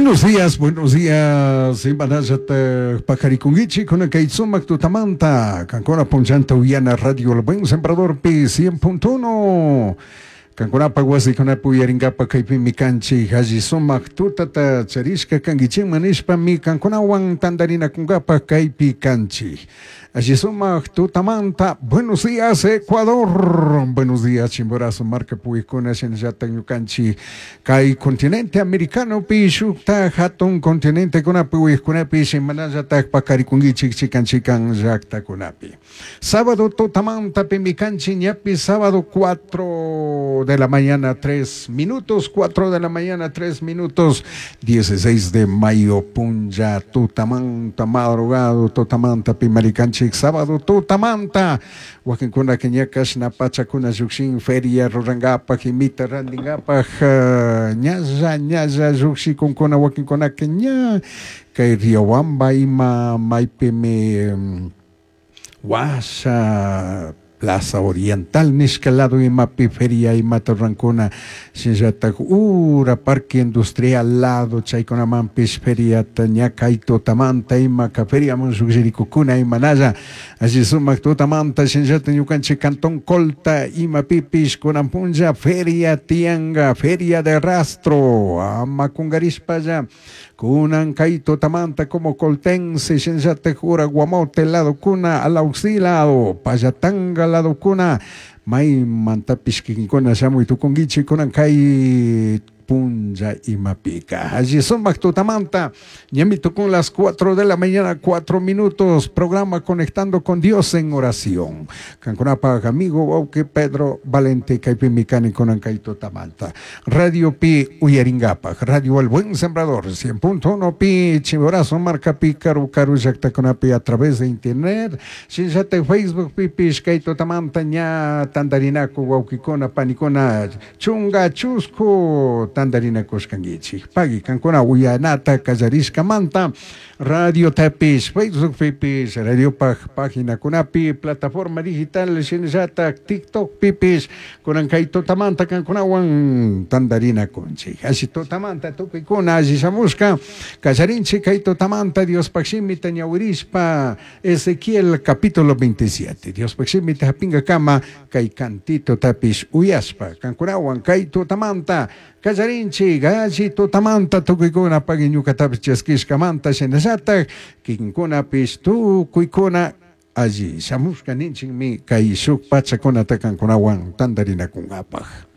Buenos días, buenos días. Imanallataq paqarikunkichik kunan kay sumaq tutamanta. Kankuna punchanta uyana Radio El Buen Sembradorpi 100.1. Kankunapaq wasikunapi uyarinkapak kaypimi kanchik alli sumaq tutata charishka kankichikman nishpami kankunawan tantarinakunkapaq kaypi kanchik. Alli sumaq tutamanta. Buenos días, Ecuador. Buenos días, Chimborazo marka puykuna shinallatak ñukanchik kay continente americanopi shukta hatun continentekunapi uykunapi shimanallatak paqarikunkichik chikan chikan llaqtakunapi. Sábado tutamanta pimi kanchik ñapi sábado 4 de la mañana 3 minutos, 4 de la mañana 3 minutos, 16 de mayo punlla tutamanta madrugado tutamanta pimarikanchik sábado tutamanta wakinkuna ña kashna pachakuna llukshin feria rurankapak imita rantinkapak ñalla ñalla llukshikunkuna wakinkunaka ña kay Riobamba ima maypimi washa Plaza Oriental nishka lado imapi feria imata rurankuna shinallatak ura Parque Industrial lado chaykunamanpish feriata ña kay tutamanta imaka feriaman llukshirikukuna imanalla alli sumak tutamanta shinallatak ñukanchik Cantón Colta imapipish kunan punlla feria tiyanka feria de rastro ama kunkarishpalla kunan kay tutamanta como coltense shinallatak ura Guamote lado kuna Alauxi lado Pallatanga lado kuna maymantapish kikinkuna shamuy tukunkichik kunan kay punlla imapika. Alli sumak tutamanta, ñami tukun las 4 de la mañana, 4 minutos, programa Conectando con Dios en oración. Kankunapaj amigo wawki Pedro Valente kaypimi kani kunan kay tutamanta. Radio Pi uyarinkapak, Radio El Buen Sembrador, 100.1 Pi, Chimborazo markapi, karu karu llaktakunapi a través de internet, shinallatak Facebook pipish kay tutamanta ña tantarinaku wawkikuna panikuna chunga chusku tantarinakushkankichik. Pagui kankuna uyanata kallarishkamanta radio tapish, Facebook pipish, radiopaj paginakunapi, plataforma digital shinallatak TikTok pipish, kunan kay tutamanta kankunawan tantarinakunchik. Alli tutamanta tukuykuna alli shamushka kallarinchik kay tutamanta Diospaj shimita ñawirishpa Ezequiel capítulo 27. Diospaj shimita hapinkakama kay cantito tapish uyashpa kankunawan kay tutamanta kallarinchik alli tutamanta tukuykuna pagui ñukatapish chaskishkamanta shinallatak kikinkunapish tukuykuna alli shamushka ninchikmi kay shuk pachakunata kankunawan tantarinakunkapaj.